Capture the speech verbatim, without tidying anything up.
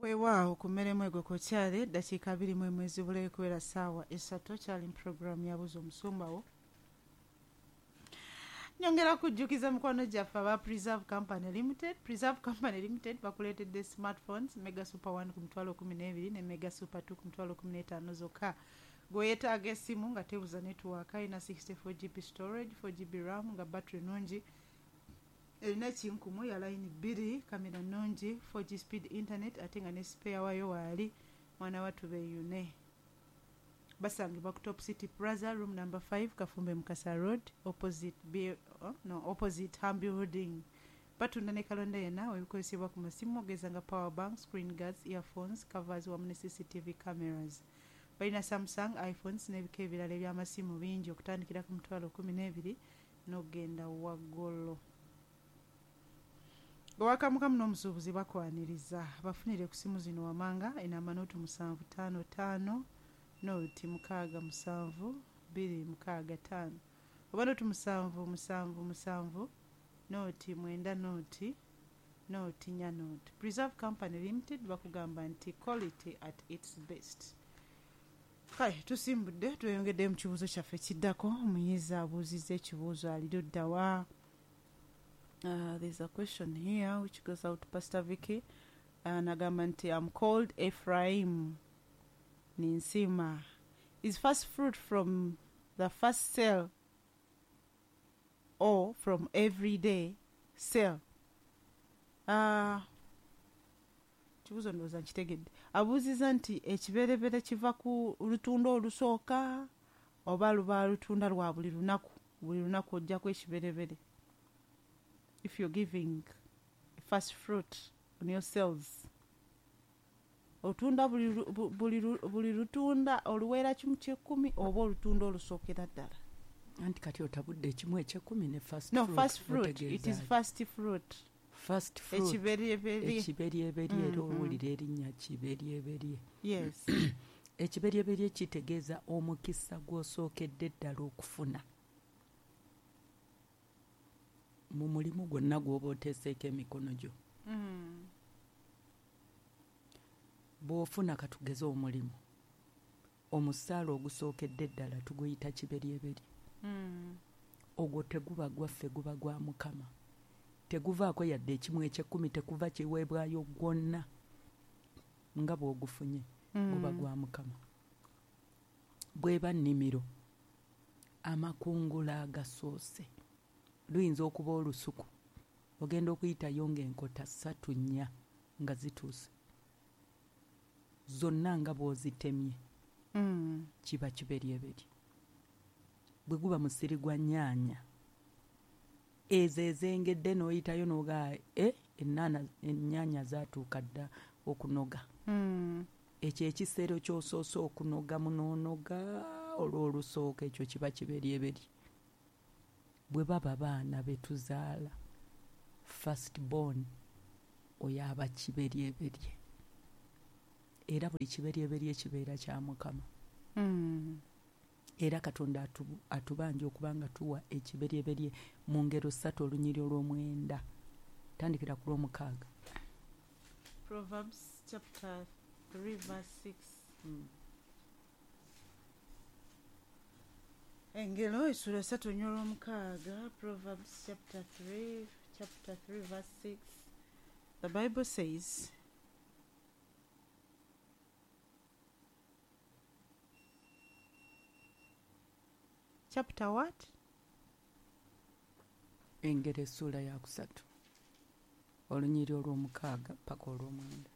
Weewaawo ku mmeremu egwe kokyale eddakiika abiri mu emu ezibulayo kubeera ssaawa esatu kyali mu puroguraamu ya Buuza Omusumba wo. Nyongera kujjukiza mikwano gyaffe aba Preserve Company Limited. Preserve Company Limited bakuleetedde smartphones Mega Super one ku mitwalo kumi n'ebiri ne Mega Super two ku mitwalo kumi n'etaano zokka. Gwe yeetaaga essimu nga tebuza network, erina sixty four G B storage, four G B RAM, nga battery nnungi, erina ekinkumu ya layini bbiri, kamera nnungi, four G speed internet, ate nga ne spare wayo waali. Mwana wattu beeyune. Basangibwa ku Top City Plaza, room number five, Kafumbe Mukasa Road, opposite B, oh, no, opposite Ham Building. Batunda ne kalonda yenna webikozesebwa ku masimu ogeza nga power bank, screen guards, earphones, covers wamu ne C C T V cameras. Balina Samsung, iPhones n'ebika ebirala eby'amasimu bingi okutandikira ku mitwalo kumi n'ebiri n'okugenda waggulu. Owakamukamu n'omusuubuzi bakwaniriza. Bafunire ku simu zino wamanga enamba nooti musanvu ttaano ttaano nooti mukaaga musanvu bbiri mukaaga ttaano oba nooti musanvu musanvu musanvu nooti mwenda nooti nooti nnya nooti. Preserve Company Limited bakugamba nti quality at its best. Kale tusimbudde tweyongedde mu kibuuzo kyaffe kiddako. Omuyizi abuuzizza ekibuuzo ali ludda wa? Uh, there's a question here which goes out to Pastor Vicky. Uh, nagamba nti I'm called Ephraim Ninsima. Is first fruit from the first sale or from everyday sale? Uh, kibuuzo ndowooza nkitegedde. Abuuzizza nti ekiberebere kiva ku lutunda olusooka oba luba lutunda lwa buli lunaku, buli lunaku ojjako ekiberebere. If you're giving first fruit on your sales, otunda buli buli buli lutunda oluweera kimu ky'ekkumi oba olutunda olusookera ddala? Anti kati otabudde ekimu eky'ekkumi ne first No, fruit. First fruit. It is first fruit. First fruit. Ekiberyeberye. Ekiberyeberye, era owulira erinnya kiberyeberye. Yes. Ekiberyeberye kitegeeza omukisa gw'osookedde ddala okufuna mu mulimu gwonna gw'oba oteeseeko emikono gyo. Mm. Bw'ofuna, katugeze omulimu, omusaala ogusookedde ddala tuguyita kiberyeberye. Mm. Ogwo teguba gwaffe, guba gwa Mukama. Teguvaako yadde ekimu eky'ekkumi, tekuva kiweebwayo gwonna nga bw'ogufunye, guba Mm. gwa Mukama. Bw'eba nnimiro, amakungula agasoose, luyinza okuba olusuku, ogenda okuyitayo ng'enkota ssatu nnya nga zituuse zonna nga bw'ozitemye, Mm. kiba kiberyeberye. Bwe guba musiri gwa nnyaanya, ezo ezengedde n'oyitayo n'ogaa e ennaana ennyaanya zaatuuka dda okunoga, Mm. ekyo ekiseera ky'osoose okunogamu n'onoga olw'olusooka, ekyo kiba kiberyeberye. Bwe baba baana be tuzaala, first born, oyo aba kiberyeberye, era buli kiberyeberye kibeera kya Mukama. Mm. Era Katonda atu- atubanja okuba nga tuwa ekiberyeberye. Mu Ngero ssatu olunyiri olw'omwenda, tandikira ku lw'omukaaga. Proverbs chapter three verse six. Engero essula ssatu olunyiri olw'omukaaga. Proverbs chapter three, chapter three verse six. The Bible says, chapter what? Engero essuula yakusatu olunyiri olw'omukaaga paka olw'omwenda.